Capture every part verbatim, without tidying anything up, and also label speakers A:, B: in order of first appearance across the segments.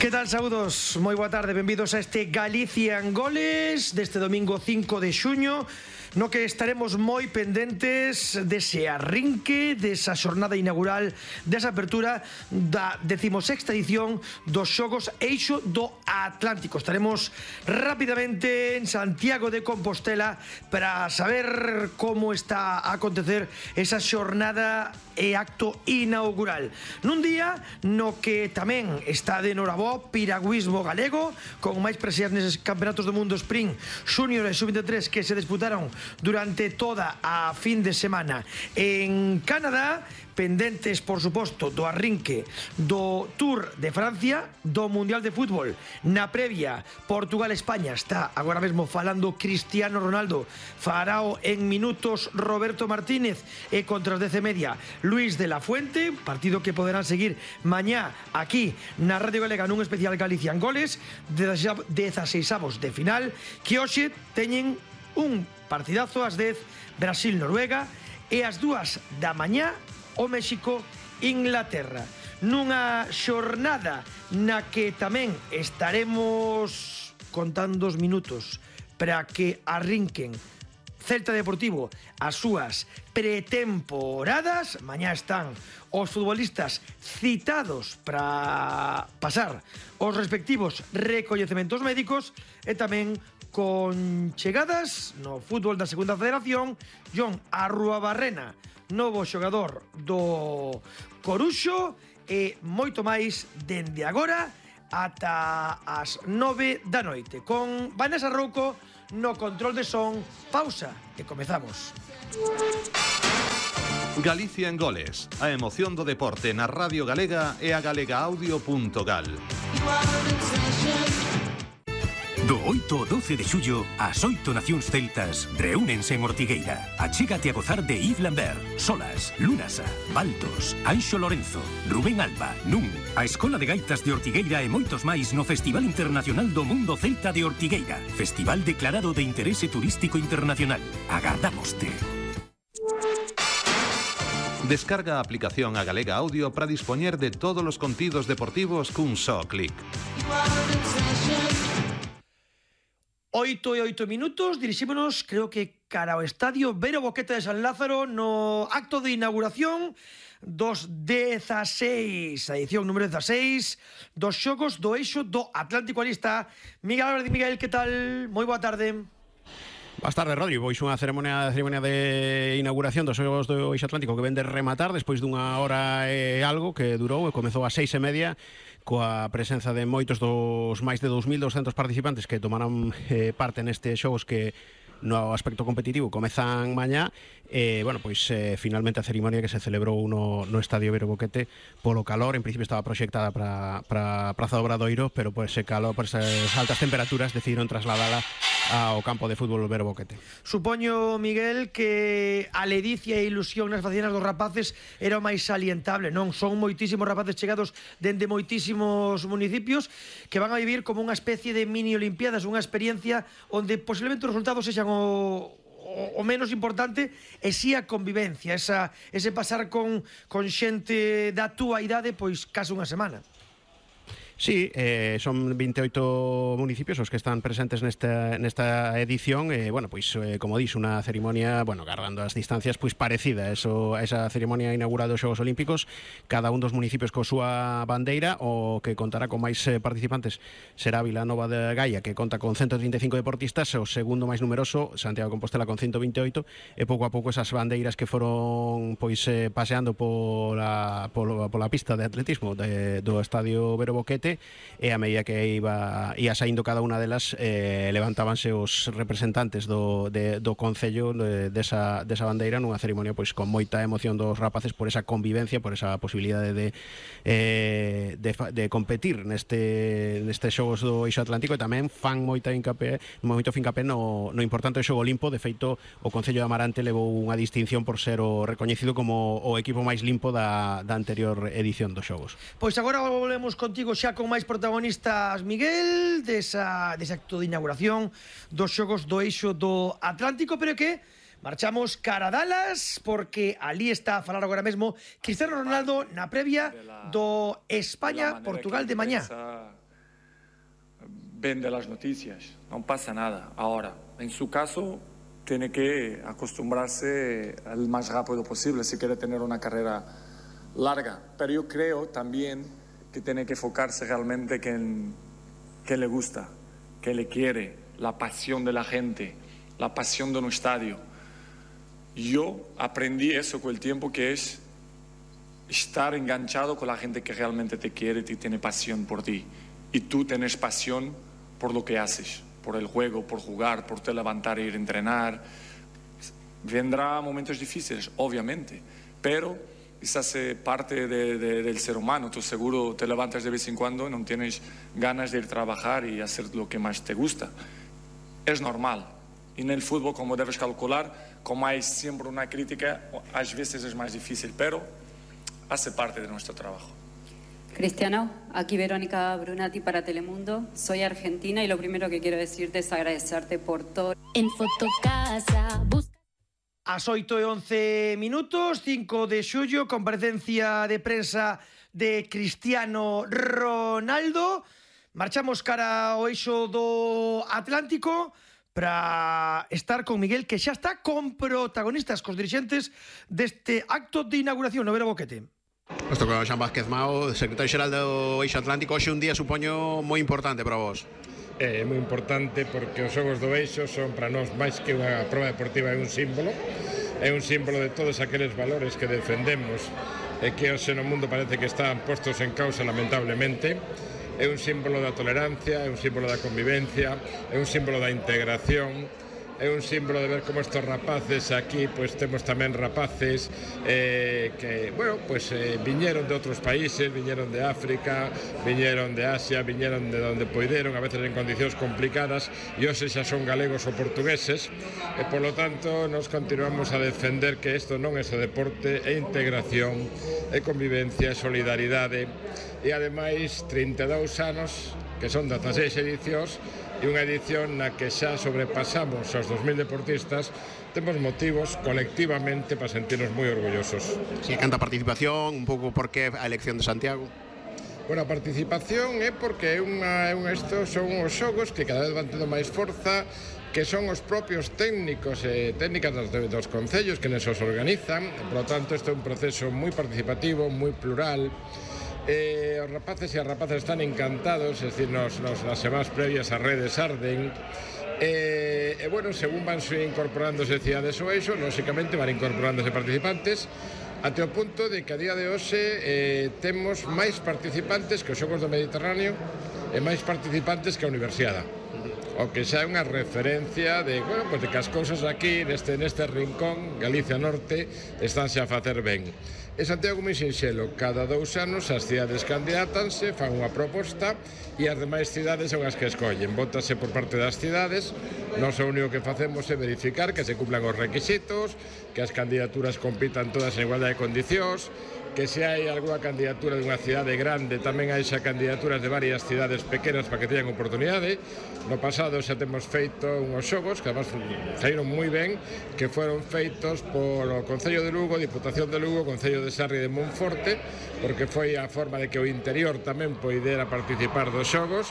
A: Que tal, saúdos? Moi boa tarde, benvidos a este Galicia en Goles deste domingo cinco de xuño, no que estaremos moi pendentes dese arrinque, desa xornada inaugural, desa apertura da decimosexta edición dos Xogos Eixo do Atlántico. Estaremos rapidamente en Santiago de Compostela para saber como está a acontecer esa xornada e acto inaugural. Nun día no que tamén está de norabó piragüismo galego, con máis preseas neses campeonatos do mundo sprint Júnior e sub veintitrés que se disputaron durante toda a fin de semana en Canadá, pendentes, por suposto, do arrinque do Tour de Francia, do Mundial de Fútbol. Na previa, Portugal-España, está agora mesmo falando Cristiano Ronaldo, farao en minutos Roberto Martínez, e contra as dez e media Luis de la Fuente, partido que poderán seguir mañá aquí na Radio Galega nun especial Galicia en Goles, dezaseisavos de final, que hoxe teñen un partidazo ás dez, Brasil-Noruega, e ás dúas da mañá o México-Inglaterra, nunha xornada na que tamén estaremos contando os minutos para que arrinquen Celta Deportivo as súas pretemporadas. Mañá están os futbolistas citados para pasar os respectivos recoñecementos médicos e tamén con chegadas no fútbol da segunda federación. Jon Arruabarrena, novo xogador do Coruxo, e moito máis dende agora ata as nove da noite, con Vanessa Rouco no control de son. Pausa e comezamos.
B: Galicia en Goles, a emoción do deporte na Radio Galega e a galegaaudio punto gal.
C: Do oito ao doce de xullo, as oito nacións celtas reúnense en Ortigueira. Achégate a gozar de Yves Lambert, Solas, Lunasa, Baltos, Anxo Lorenzo, Rubén Alba, Nun, a Escola de Gaitas de Ortigueira e moitos máis no Festival Internacional do Mundo Celta de Ortigueira. Festival declarado de interese turístico internacional. Agardámoste.
B: Descarga a aplicación a Galega Audio para dispoñer de todos os contidos deportivos cun só clic.
A: Oito e oito minutos, dirixímonos, creo que cara ao estadio Vero Boquete de San Lázaro, no acto de inauguración dos dezaseis, a edición número dezaseis dos Xogos do Eixo do Atlántico. Ali está Miguel Álvarez. Miguel, que tal? Moi boa tarde.
D: Boas tardes, Rodri. Pois unha ceremonia, ceremonia de inauguración dos Xogos do Eixo Atlántico que ven de rematar despois dunha hora e algo que durou e comezou ás seis e media, coa presenza de moitos dos máis de dous mil douscentos participantes que tomarán eh, parte nestes xogos que no aspecto competitivo comezan mañá. E, bueno, pois eh, finalmente a cerimonia que se celebrou no, no Estadio Vero Boquete polo calor, en principio estaba proxectada para para Praza do Obradoiro, pero por ese calor, por esas altas temperaturas decidiron trasladala ao campo de fútbol Vero Boquete.
A: Supoño, Miguel, que a ledicia e ilusión nas facianas dos rapaces era o máis salientable, non? Son moitísimos rapaces chegados dende moitísimos municipios que van a vivir como unha especie de mini olimpiadas, unha experiencia onde posiblemente os resultados sexan o o menos importante, e si a convivencia, esa, ese pasar con, con xente da túa idade, pois case unha semana.
D: Sí, eh, son veintioito municipios os que están presentes nesta, nesta edición e, bueno, pois, eh, como dís, unha cerimonia, bueno, guardando as distancias, pois parecida a, eso, a esa cerimonia inaugural dos Xogos Olímpicos, cada un dos municipios coa súa bandeira. O que contará con máis eh, participantes será Vilanova de Gaia, que conta con ciento trinta e cinco deportistas, o segundo máis numeroso, Santiago de Compostela, con ciento veintioito, e pouco a pouco esas bandeiras que foron pois eh, paseando pola, pola, pola pista de atletismo de, do Estadio Vero Boquete, e a medida que iba ia saindo cada unha delas, eh, levantábanse os representantes do, de, do Concello de, desa, desa bandeira nunha cerimonia pois con moita emoción dos rapaces por esa convivencia, por esa posibilidade de, eh, de, de competir neste, neste Xogos do Eixo Atlántico, e tamén fan moita hincapé, moito fincapé no, no importante Xogo Limpo. De feito, o Concello de Amarante levou unha distinción por ser o recoñecido como o equipo máis limpo da, da anterior edición dos Xogos.
A: Pois agora volvemos contigo xa con máis protagonistas, Miguel, desa, desa acto de inauguración dos Xogos do Eixo do Atlántico, pero que marchamos cara a Dallas, porque ali está a falar agora mesmo Cristiano Ronaldo na previa do España-Portugal de mañá.
E: vende las noticias, no pasa nada. Ahora, en su caso, tiene que acostumbrarse al más rápido posible si quiere tener una carrera larga. Pero yo creo también que tiene que enfocarse realmente en qué le gusta, qué le quiere, la pasión de la gente, la pasión de un estadio. Yo aprendí eso con el tiempo, que es estar enganchado con la gente que realmente te quiere y tiene pasión por ti. Y tú tienes pasión por lo que haces, por el juego, por jugar, por te levantar e ir a entrenar. Vendrá momentos difíciles, obviamente, pero eso hace parte de, de, del ser humano. Tú seguro te levantas de vez en cuando y no tienes ganas de ir a trabajar y hacer lo que más te gusta. Es normal. Y en el fútbol, como debes calcular, como hay siempre una crítica, a veces es más difícil, pero hace parte de nuestro trabajo.
F: Cristiano, aquí Verónica Brunati para Telemundo. Soy argentina y lo primero que quiero decirte es agradecerte por todo.
G: En Fotocasa busca...
A: As oito e once minutos, cinco de xullo, comparecencia de prensa de Cristiano Ronaldo. Marchamos cara ao eixo do Atlántico para estar con Miguel, que xa está con protagonistas, cos dirixentes deste acto de inauguración no Vero Boquete.
D: Isto con Xan Vázquez Mao, secretario xeral do Eixo Atlántico. Hoxe un día, supoño, moi importante para vos.
H: É moi importante porque os Xogos do Eixo son para nós máis que unha proba deportiva, é un símbolo. É un símbolo de todos aqueles valores que defendemos e que hoxe no mundo parece que están postos en causa, lamentablemente. É un símbolo da tolerancia, é un símbolo da convivencia, é un símbolo da integración. É un símbolo de ver como estos rapaces aquí, pues temos tamén rapaces eh, que, bueno, pues eh, viñeron de outros países, viñeron de África, viñeron de Asia, viñeron de donde poideron, a veces en condicións complicadas, e hoxe xa son galegos ou portugueses, e polo tanto nos continuamos a defender que isto non é só deporte, é integración, é convivencia, é solidaridade, e ademais trinta e dous anos, que son dezaseis edicións, e unha edición na que xa sobrepasamos aos dos mil deportistas. Temos motivos colectivamente para sentirnos moi orgullosos.
D: Si, canta participación, un pouco por que a elección de Santiago?
H: Bueno, a participación é porque é unha, é un, estos son os xogos que cada vez van tendo máis forza, que son os propios técnicos e técnicas dos, dos concellos que nos os organizan. Por lo tanto, isto é un proceso moi participativo, moi plural. Eh, os rapaces e as rapazas están encantados, es decir, nos, nos, nas semanas previas as redes arden. E, eh, bueno, según van incorporándose cidades ao eixo, lógicamente van incorporándose participantes, até o punto de que a día de hoxe eh, temos máis participantes que os Xogos do Mediterráneo e máis participantes que a Universiada. O que xa é unha referencia de, bueno, pues de que as cousas aquí, neste, neste rincón, Galicia Norte, estánse a facer ben. E Santiago moi sinxelo, cada dous anos as cidades candidátanse, fan unha proposta e as demais cidades son as que escollen. Vótase por parte das cidades, nós o único que facemos é verificar que se cumplan os requisitos, que as candidaturas compitan todas en igualdade de condicións, que se hai algunha candidatura de unha cidade grande, tamén hai xa candidaturas de varias cidades pequenas para que teñan oportunidade. No pasado xa temos feito unhos xogos que además saíron moi ben, que foron feitos por o Concello de Lugo, Diputación de Lugo, Concello de Sarri de Monforte, porque foi a forma de que o interior tamén poidera participar dos xogos.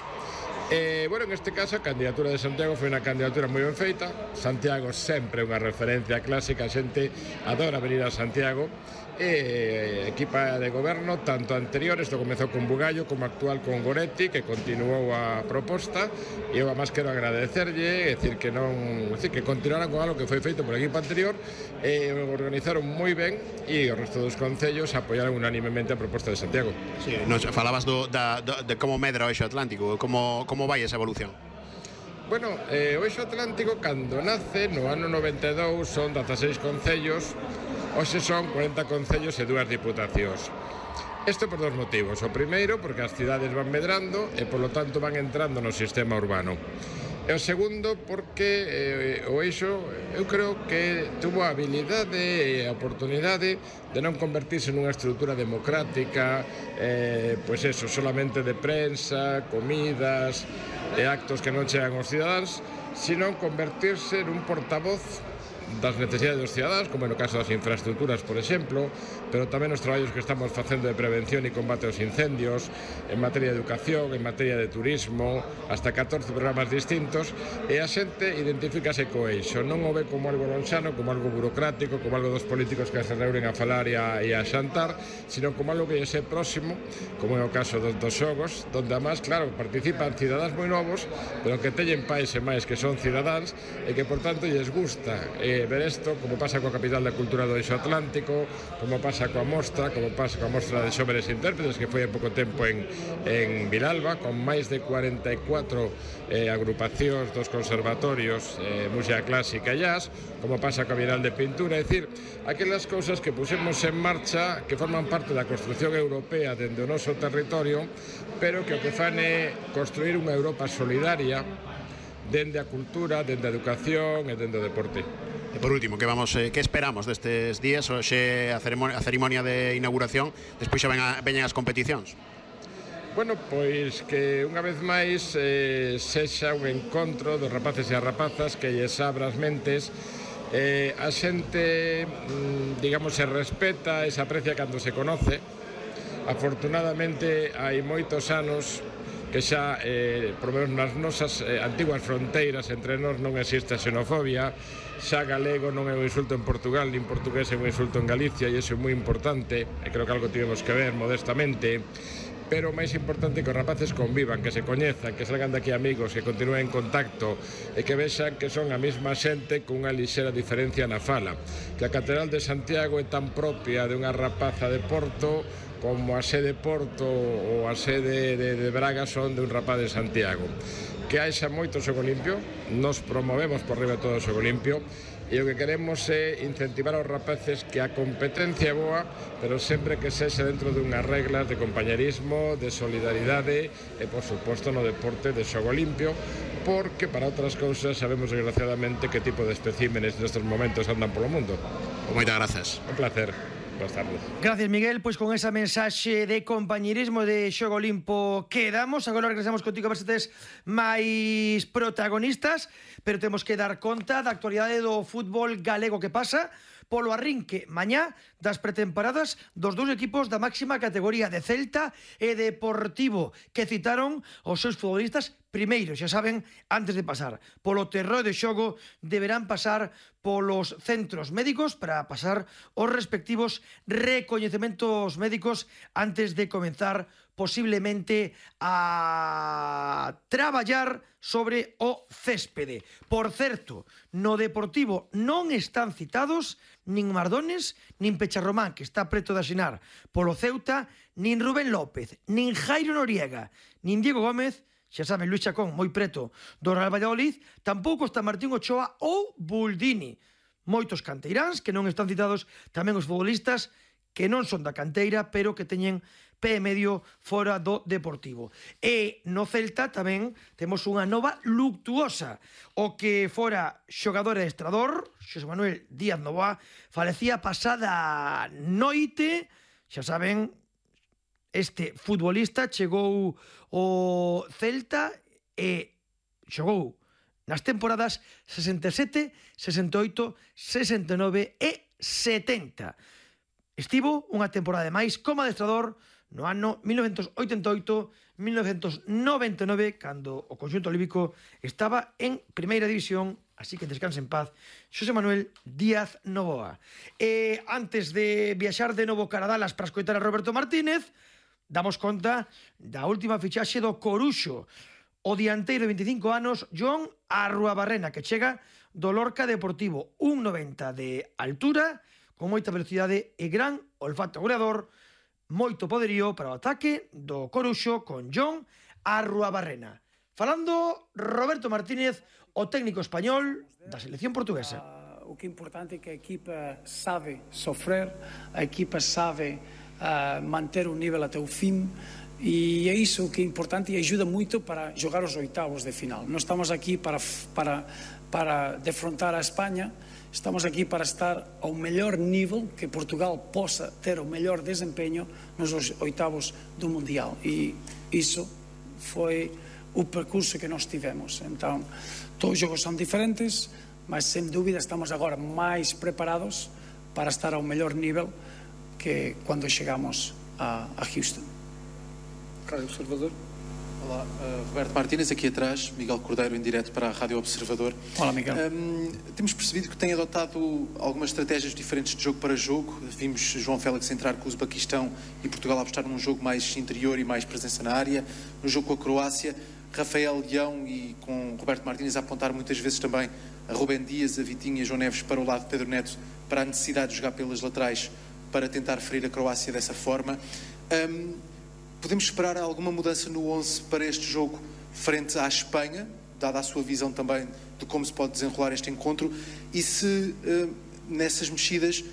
H: E, bueno, en este caso a candidatura de Santiago foi unha candidatura moi ben feita. Santiago sempre é unha referencia clásica, a xente adora venir a Santiago. E equipa de goberno, tanto anterior, isto comezou con Bugallo, como actual con Goretti, que continuou a proposta, e eu además quero agradecerlle, é dicir que non, é dicir que continuaran con algo que foi feito por equipo anterior, e organizaron moi ben, e o resto dos concellos apoiaron unánimemente a proposta de Santiago.
D: Sí, nos falabas do, da, do, de como medra o Eixo Atlántico, como, como vai esa evolución?
H: Bueno, eh, o Eixo Atlántico, cando nace, no ano noventa e dous, son dezaseis concellos. Hoxe son cuarenta concellos e dúas diputacións. Isto por dos motivos. O primeiro, porque as cidades van medrando e, polo tanto, van entrando no sistema urbano. E o segundo, porque eh, o eixo, eu creo que tuvo a habilidade e a oportunidade de non convertirse nunha estrutura democrática, eh, pois eso, solamente de prensa, comidas e actos que non chegan aos cidadáns, sino convertirse nun portavoz das necesidades dos cidadáns, como no caso das infraestructuras, por exemplo, pero tamén os traballos que estamos facendo de prevención e combate aos incendios, en materia de educación, en materia de turismo, hasta catorce programas distintos, e a xente identifícase co eixo, non o ve como algo lonxano, como algo burocrático, como algo dos políticos que se reúnen a falar e a, e a xantar, sino como algo que lle sé próximo, como é o caso dos, dos xogos, donde además, claro, participan cidadáns moi novos, pero que teñen pais e máis que son cidadáns e que, por tanto, lles gusta eh, ver isto, como pasa coa capital da cultura do Eixo Atlántico, como pasa coa mostra, como pasa coa mostra de xóvenes intérpretes que foi hai pouco tempo en, en Vilalba, con máis de cuarenta e catro eh, agrupacións dos conservatorios eh, música clásica e jazz, como pasa coa Bienal de Pintura, é dicir, aquelas cousas que pusemos en marcha que forman parte da construción europea dende o noso territorio, pero que o que fan é construir unha Europa solidaria dende a cultura, dende a educación e dende o deporte.
D: E por último, que vamos, eh, que esperamos destes días? Hoxe a cerimonia, a cerimonia de inauguración, despois xa ven a, veñen as competicións.
H: Bueno, pois que unha vez máis eh, sexa un encontro dos rapaces e as rapazas que lles abra as mentes. Eh, a xente, digamos, se respeta e se aprecia cando se conoce. Afortunadamente hai moitos anos que xa, eh, por menos nas nosas eh, antiguas fronteiras entre nós non existe a xenofobia, xa galego non é un insulto en Portugal, nin portugués é un insulto en Galicia, e iso é moi importante, e creo que algo tivemos que ver modestamente, pero o máis importante é que os rapaces convivan, que se coñezan, que salgan daqui amigos, que continúen en contacto e que vexan que son a mesma xente con unha lixera diferencia na fala, que a Catedral de Santiago é tan propia de unha rapaza de Porto como a sede Porto ou a sede de, de Braga son de un rapaz de Santiago. Que haixa moito xogo limpio, nos promovemos por riba todo o xogo limpio, e o que queremos é incentivar aos rapaces que a competencia é boa, pero sempre que sexa dentro de unhas reglas de compañerismo, de solidaridade e, por suposto, no deporte de xogo limpio, porque para outras cousas sabemos desgraciadamente que tipo de especímenes nestes momentos andan polo mundo.
D: Moitas grazas.
H: Un placer. Boas tardes.
A: Gracias, Miguel. Pois con esa mensaxe de compañerismo de xogo limpo quedamos. Agora regresamos contigo a ver se tes máis protagonistas, pero temos que dar conta da actualidade do fútbol galego que pasa polo arrinque mañá das pretemporadas dos dous equipos da máxima categoría de Celta e Deportivo, que citaron os seus futbolistas primeiro, xa saben, antes de pasar polo terreo de xogo, deberán pasar polos centros médicos para pasar os respectivos recoñecementos médicos antes de comenzar posiblemente a traballar sobre o céspede. Por certo, no Deportivo non están citados nin Mardones, nin Pecharromán, que está preto de asinar polo Ceuta, nin Rubén López, nin Jairo Noriega, nin Diego Gómez, xa saben, Luis Chacón, moi preto do Real Valladolid, tampouco está Martín Ochoa ou Buldini. Moitos canteiráns que non están citados, tamén os futbolistas que non son da canteira, pero que teñen pé e medio fora do Deportivo. E no Celta tamén temos unha nova luctuosa. O que fora xogador e estrador, Xosé Manuel Díaz Novoa, falecía pasada noite, xa saben, este futbolista chegou ao Celta e xogou nas temporadas sesenta e sete, sesenta e oito, sesenta e nove e setenta. Estivo unha temporada de máis como adestrador no ano mil novecentos oitenta e oito a mil novecentos noventa e nove, cando o conxunto olímpico estaba en primeira división, así que descanse en paz Xosé Manuel Díaz Novoa. E antes de viaxar de novo cara a Dallas para escoitar a Roberto Martínez, damos conta da última fichaxe do Coruxo, o dianteiro de veinticinco anos, John Arruabarrena, que chega do Lorca Deportivo, un noventa de altura, con moita velocidade e gran olfato goleador, moito poderío para o ataque do Coruxo con John Arruabarrena. Falando Roberto Martínez, o técnico español da selección portuguesa.
I: Uh, o que é importante é que a equipa sabe sofrer, a equipa sabe uh, manter o nível até o fim, e é iso que é importante e ajuda moito para jogar os oitavos de final. Non estamos aquí para, para, para defrontar a España, estamos aquí para estar ao mellor nível que Portugal possa ter o mellor desempeño nos oitavos do Mundial, e iso foi o percurso que nós tivemos. Então, todos os jogos são diferentes, mas sem dúvida estamos agora mais preparados para estar ao melhor nível que quando chegamos a, a Houston.
J: Rádio Observador. Olá, uh, Roberto Martínez, aqui atrás, Miguel Cordeiro em direto para a Rádio Observador.
I: Olá, Miguel.
J: Um, temos percebido que tem adotado algumas estratégias diferentes de jogo para jogo. Vimos João Félix entrar com o Uzbequistão e Portugal apostar num jogo mais interior e mais presença na área. No jogo com a Croácia, Rafael Leão e com Roberto Martínez a apontar muitas vezes também a Rubén Dias, a Vitinha e a João Neves para o lado de Pedro Neto, para a necessidade de jogar pelas laterais para tentar ferir a Croácia dessa forma. Um, Podemos esperar alguma mudança no onze para este jogo frente à Espanha, dada a sua visão também de como se pode desenrolar este encontro, e se uh, nessas mexidas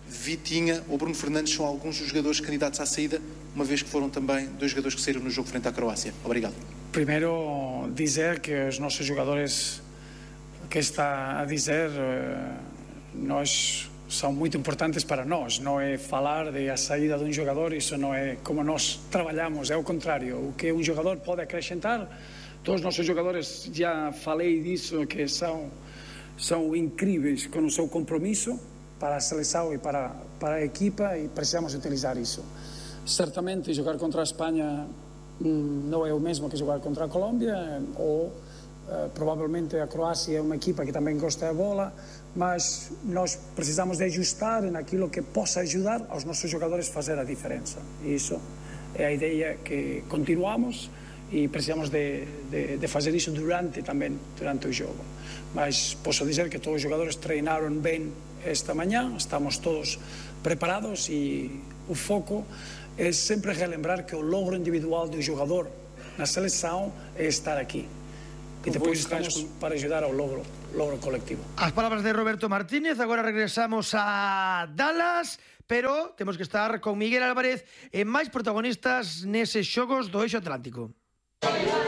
J: Vitinha ou Bruno Fernandes são alguns dos jogadores candidatos à saída, uma vez que foram também dois jogadores que saíram no jogo frente à Croácia. Obrigado.
I: Primeiro, dizer que os nossos jogadores, que está a dizer, nós... são muito importantes para nós. Não é falar de a saída de um jogador, isso não é como nós trabalhamos, é o contrário. O que um jogador pode acrescentar, todos os nossos jogadores, já falei disso, que são, são incríveis com o seu compromisso para a seleção e para, para a equipa, e precisamos utilizar isso. Certamente jogar contra a Espanha não é o mesmo que jogar contra a Colômbia, ou uh, provavelmente a Croácia é uma equipa que também gosta da bola, mas nós precisamos de ajustar naquilo que possa ajudar aos nossos jogadores a fazer a diferença. E isso é a ideia que continuamos e precisamos de, de, de fazer isso durante também, durante o jogo. Mas posso dizer que todos os jogadores treinaram bem esta manhã, estamos todos preparados e o foco é sempre relembrar que o logro individual do jogador na seleção é estar aqui. E depois estamos para ajudar ao logro, logro colectivo.
A: As palabras de Roberto Martínez. Agora regresamos a Dallas, pero temos que estar con Miguel Álvarez e máis protagonistas neses xogos do Eixo Atlántico.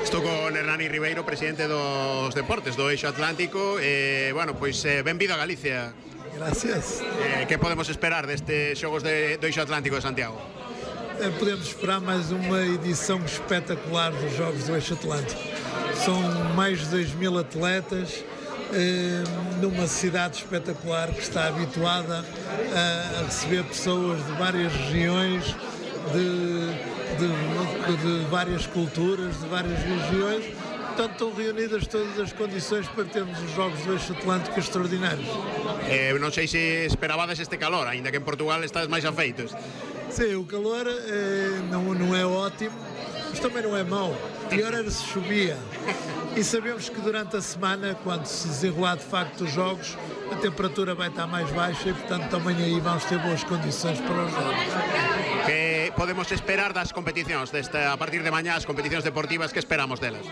D: Estou con Hernani Ribeiro, presidente dos deportes do Eixo Atlántico. E, bueno, pois, eh, benvido a Galicia.
K: Gracias.
D: Eh, que podemos esperar destes xogos de, do Eixo Atlántico de Santiago?
K: Eh, podemos esperar máis unha edición espetacular dos Jogos do Eixo Atlántico. São mais de dois mil atletas eh, numa cidade espetacular que está habituada a, a receber pessoas de várias regiões, de, de, de várias culturas, de várias regiões. Portanto, estão reunidas todas as condições para termos os Jogos do Eixo Atlântico extraordinários.
D: Eh, non sei se esperabades este calor, ainda que en Portugal estás máis afeitos.
K: Sim, o calor eh, não, não é ótimo, mas também não é mau. Pior era se chovia. E sabemos que durante a semana, quando se desenrolar de facto os jogos, a temperatura vai estar mais baixa e, portanto, também aí vamos ter boas condições para os jogos.
D: Que podemos esperar das competicións, desta, a partir de mañá, as competicións deportivas, que esperamos delas?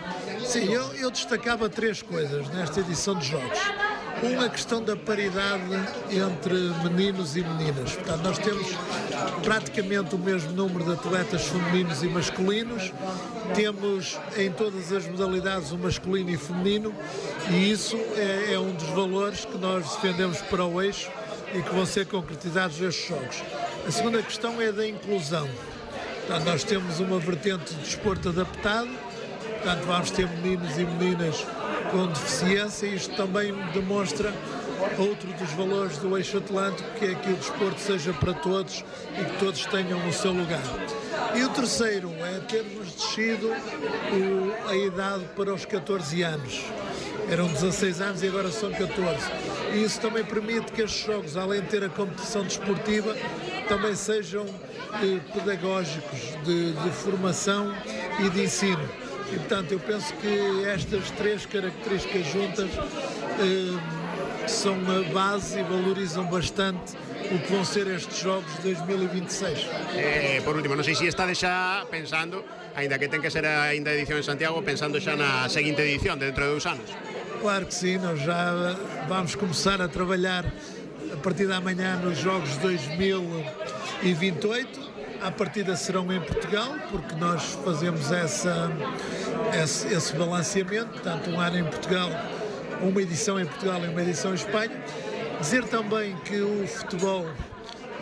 K: Sim, eu, eu destacava três coisas nesta edição de jogos. Uma, a questão da paridade entre meninos e meninas. Portanto, nós temos praticamente o mesmo número de atletas femininos e masculinos. Temos em todas as modalidades o masculino e feminino, e isso é, é um dos valores que nós defendemos para o eixo e que vão ser concretizados nestes jogos. A segunda questão é da inclusão. Portanto, nós temos uma vertente de desporto adaptado, portanto vamos ter meninos e meninas com deficiência, e isto também demonstra outro dos valores do Eixo Atlântico, que é que o desporto seja para todos e que todos tenham o seu lugar. E o terceiro é termos descido o, a idade para os catorze anos. Eram dezasseis anos e agora são catorze. E isso também permite que estes jogos, além de ter a competição desportiva, também sejam eh, pedagógicos, de, de formação e de ensino. E, portanto, eu penso que estas três características juntas eh, são a base e valorizam bastante o que vão ser estes Jogos de dois mil e vinte e seis.
D: Eh, por último, non sei se estades xa pensando, ainda que ten que ser ainda a edición en Santiago, pensando xa na seguinte edición, dentro de dous anos.
K: Claro que sim, nós já vamos começar a trabalhar a partir da manhã nos Jogos de dois mil e vinte e oito. À partida serão em Portugal, porque nós fazemos essa, esse, esse balanceamento, portanto um ano em Portugal, uma edição em Portugal e uma edição em Espanha. Dizer também que o futebol,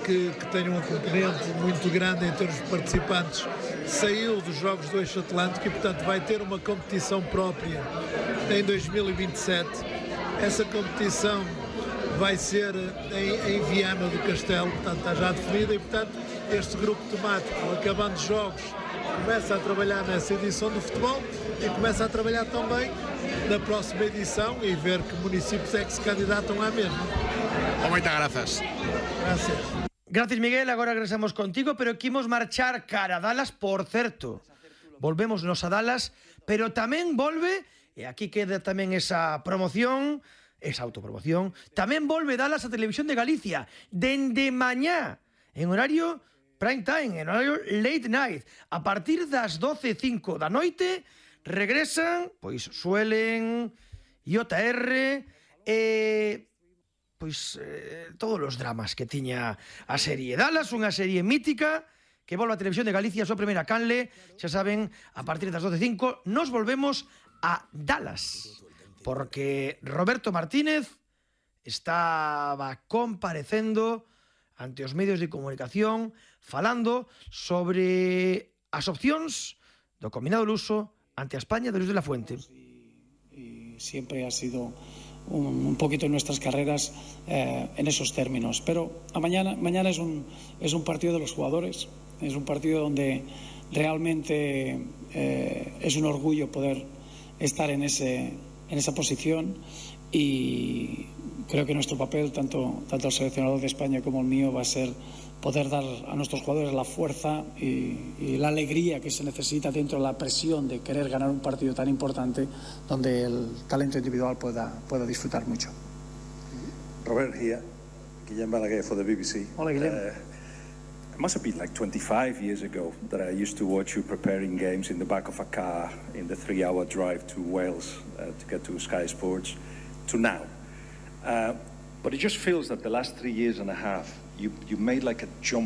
K: que, que tem uma componente muito grande em termos de participantes, saiu dos Jogos do Eixo Atlântico e, portanto, vai ter uma competição própria em dois mil e vinte e sete. Essa competição vai ser em, em Viana do Castelo, portanto está já definida e, portanto, este grupo temático, acabando os jogos, começa a trabalhar nessa edição do futebol e começa a trabalhar também na próxima edição e ver que municípios é que se candidatam à mesma.
D: Muchas gracias.
K: Gracias.
A: Gracias, Miguel. Agora regresamos contigo, pero quimos marchar cara a Dallas, por certo. Volvemos nos a Dallas, pero tamén volve, e aquí queda tamén esa promoción, esa autopromoción, tamén volve Dallas a Televisión de Galicia, dende mañá, en horario prime time, en horario late night. A partir das doce e cinco da noite, regresan, pois suelen, J R, e... pois eh, todos os dramas que tiña a serie Dallas, unha serie mítica que volve a Televisión de Galicia, a súa primeira canle, xa saben, a partir das doce e cinco nos volvemos a Dallas, porque Roberto Martínez estaba comparecendo ante os medios de comunicación falando sobre as opcións do combinado luso ante a España de Luis de la Fuente.
I: Y siempre ha sido un, un poquito en nuestras carreras eh, en esos términos. Pero a mañana, mañana es un, es un partido de los jugadores, es un partido donde realmente eh, es un orgullo poder estar en, ese, en esa posición y creo que nuestro papel, tanto, tanto el seleccionador de España como el mío, va a ser poder dar a nuestros jugadores la fuerza y, y la alegría que se necesita dentro de la presión de querer ganar un partido tan importante donde el talento individual pueda, pueda disfrutar mucho.
L: Robert here, Guillem Balaguer for the B B C.
I: Hola, Guillem.
L: Uh, it must have been like twenty-five years ago that I used to watch you preparing games in the back of a car in the three-hour drive to Wales uh, to get to Sky Sports, to now. Uh, but it just feels that the last three years and a half, you, you made like a jump